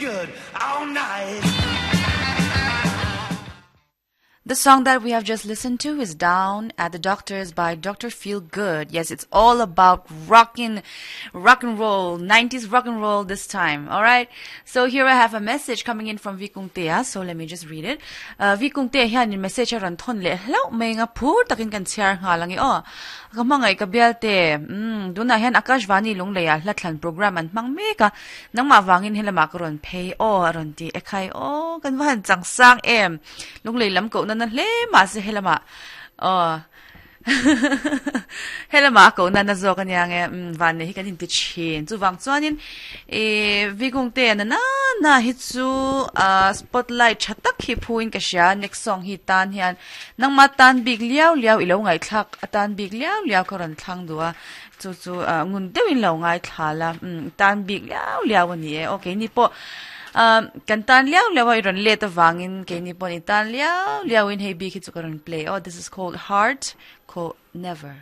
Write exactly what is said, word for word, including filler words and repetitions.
Good all night. The song that we have just listened to is Down at the Doctors by Doctor Feel Good. Yes, it's all about rockin' rock and roll, nineties rock and roll this time. All right. So here I have a message coming in from Vikungtea. So let me just read it. Uh, Vikungtea hian in message a rawn thawn leh hlauh mai nga phur takin kan chhiar nghal ange aw. Ka hmangaih ka bialte. Mm, tunah hian Akashvani Lungleia hla thlan program an hmang mek a. Nangmah vangin helama ka rawn phei aw a rawn ti ekhai aw kan va han chang sang em. Lunglei lam kohna na hle mah se helama aw helama kohna na zawk ania nge mm van nei hi kan inti thin chuvang chuanin eh Vikungte na na na hi chu ah spotlight tha tak hi phuin ka hria next song hi tan hian nangma tan bik liau liau ilo ngaihthlak atan bik liau liau ka rawn thlang duh a chu chu ah ngun deuhin lo ngaithla la mm tan bik liau liau ani e okay ni pawh ah kan tan liau liau a i rawn let avangin keini pawh ni tan liau liau in hei bik hi chu ka rawn play aw. This is called Heart called Never.